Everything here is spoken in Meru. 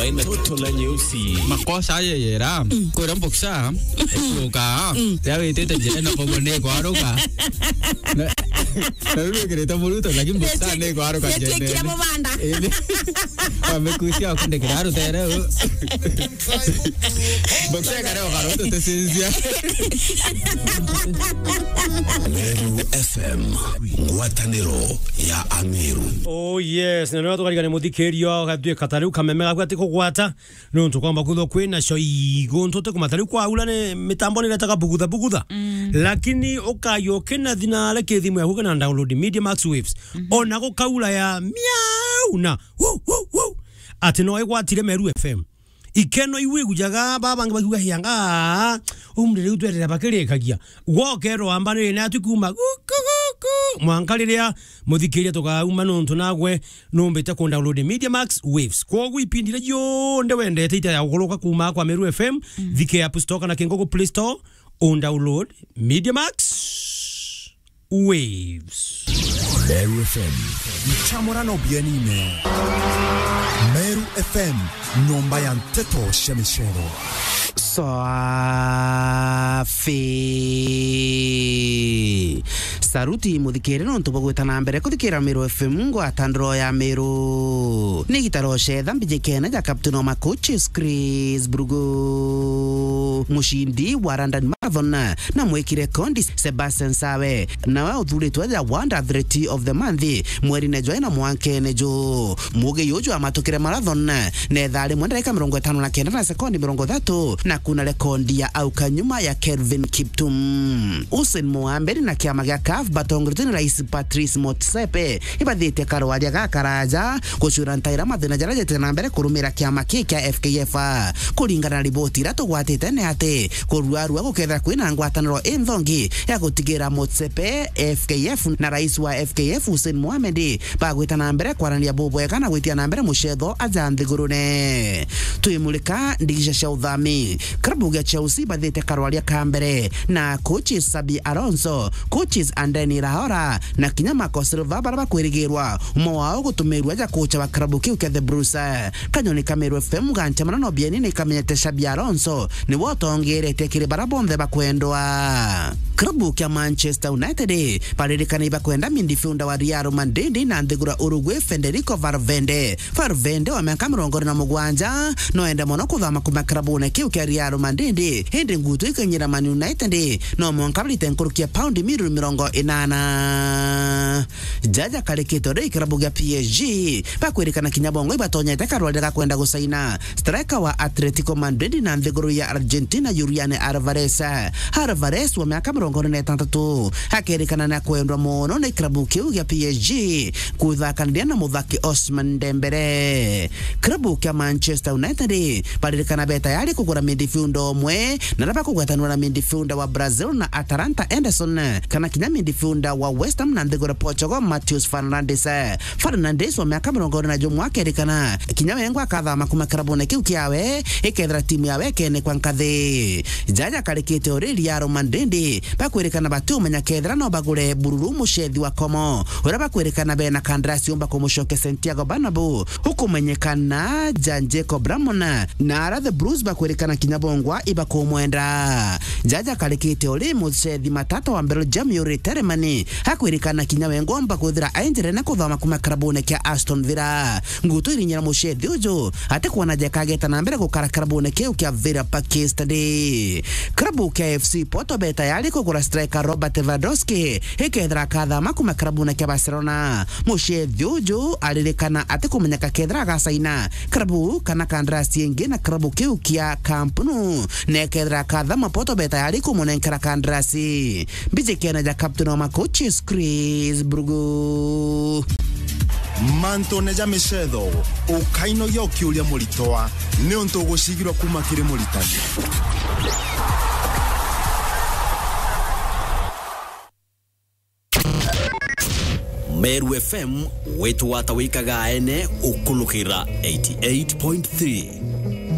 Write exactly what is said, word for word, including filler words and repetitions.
Toto la nyeusi. Makosa aye yera. Kwira mboksa. Ekuruka. Ria witite njira na kogo ni kwaruka. Na, na riu wikirite muruto, lakini mboksa ni kwaruka njira. Yetwikire mubanda. Indi. Wamekusia kundikira rutere. Mboksa kare okaruto tesinzia. Meru F M, ngwataniro ya Ameru. Oh yes, na nä tukarigane må thikä ria, gatatuä ka ta rä u kameme gaku atä kå gwata, nä å ntå kwamba kwithwa kwä na cio igå ntå tä kå mata rä u kwaura nä mä tambo nä retaga bugutha bugutha. Lakini å kayå kä na thina arä kä thimå yaku kana download Media Max Waves. Ona gå kaura ya miau na wuu, wuu, wuu, atä no ä gwatire Meru F M. Ikeno iu igujaga, baba bangi bakiuga, "Hianga, umri riu twerera bakirikagia." Gwokerwa amba ni natu kuma guku, guku. Mwanka riria muthikiria tukauma nontu nagwe numbite ku download Media Max Waves. Kwogu ipindi ria jionde wendete ita ya gukuruka kuma kwa Meru F M, thike App Store kana kingugu Play Store, un download Media Max Waves. Meru F M. Nchamurano bienine. Meru F M, nyomba ya nteto cia micero. Swafi. Saruti muthikire nontu bwa gwita na mbere kuthikira Meru F M, ngwataniro ya Meru. Ni gitaro cetha mbijikene ja Captain wa Makuchi, Chris Brugu. Mucindi wa London Marathon na mwiki rekondi Sebastian Sawe, nawe uthuritwe ja World Athlete of the Month mwerine jwa ina mwankene ju. Mugi uju amatukire marathon na ithaa rimwe ndarika mirongo itano na kenda na sekondi mirongo ithatu na kuna rekondi ya auka nyuma ya Kelvin Kiptum. Hussein Mohamed na kiama gia CAF batongoretwe ni Rais Patrice Motsepe ibathite karwaria gakaraja gucwira ntaira mathina jaria jete na mbere kurumira kiama ki kia F K F. Kuringana na riboti iria tugwatite ni ati kuruarua gukethira kwina ngwataniro inthongi ya gutigira Motsepe, F K F na rais wa F K F Hussein Mohamed bagwita na mbere kwaraniria bubwega na gwitia na mbere mucetho aja nthigurune. Twimulika ndigisha cia uthami. Klabu gia Chelsea bathite karwaria ka mbere na coaches Xabi Alonso, coaches Andoni Iraola na kinya Marco Silva, baria bakwirigirwa umwe wao gutumirwa ja kocha wa klabu kiu kia The Blues. Kanyoni ka Meru F M gancha manano bieni ni kamenyete Xabi Alonso niwe utongeretie kiri baria bonthe bakwendwa. Klabu kia Manchester United baririkana ibakwenda midfielder wa Real Madrid na nthiguru ya Uruguay, Federico Valverde. Valverde wa miaka mirongo iri na mugwanja no ende mono kuthama kuma klabune kiu kia Real Madrid, indi ngutu ikinyira Man United no mwanka barite nkuruki ya paundi milioni mirongo inana. Jaja karikite uri kirabu gia P S G bakwirikana kinya bongo ibatonyete karwarire ga kwenda gusaina striker wa Atletico Madrid na nthiguru ya Argentina, Julian Alvarez. Alvarez wa miaka mirongo iri na itantatu akerikana na kwendwa mono ni kirabu kiu gia P S G kuthakaniria na muthaki Ousmane Dembele. Kirabu kia Manchester United baririkana be tayari kugura midfielder umwe na raba kugwetanwa na midfielder wa Brazil na Atalanta, Ederson, kana kinya midfielder wa West Ham na nthiguru Portugal, Mateus Fernandes. Fernandes wa miaka mirongo iri na jumwe akerikana kinya wengwa akathama kuma kirabune kiu kiawe ikethira timu yawe ikenekwa nkathi. Jaja karikite uri Real Madrid bakwirikana batiumenya kethira no bagure bururu mucethi wa Como uria bakwirikana bena kandarasi umba kumucokia Santiago Bernabeu ukumenyekana ja Jacob Ramon, na ara The Blues bakwirikana kinya bongwa ibakumwenda. Jaja karikite uri mucethi matata wa Belgium Youri Tielemans akwirikana kinya we ngomba kwithira ainjirene kuthoma kuma kirabune kia Aston Villa. Ngutu irinyira mucethi uju ati kwona jekageta na mbere gukara kirabune kiu kia Villa Park Stadium. Kirabu kia F C Porto be tayari kugura striker Robert Lewandowski ikethira akathama kuma kirabune kia Barcelona. Mucethi uju aririkana ati kumenyeka kethira agasaina kirabu kana kandarasi ingi na kirabu kiu kia Camp Nou, na ekethira akathama Porto be tayari kumunenkera kandarasi. Mbijikene ja captain wa makochi Chris Brugu. Mantune ja micetho, ukainogia ukiuria muritwa, niuntu ugucigirwa kuma kiri muritani. Meru F M, wetu wata wikaga ene ukulukira eighty-eight point three.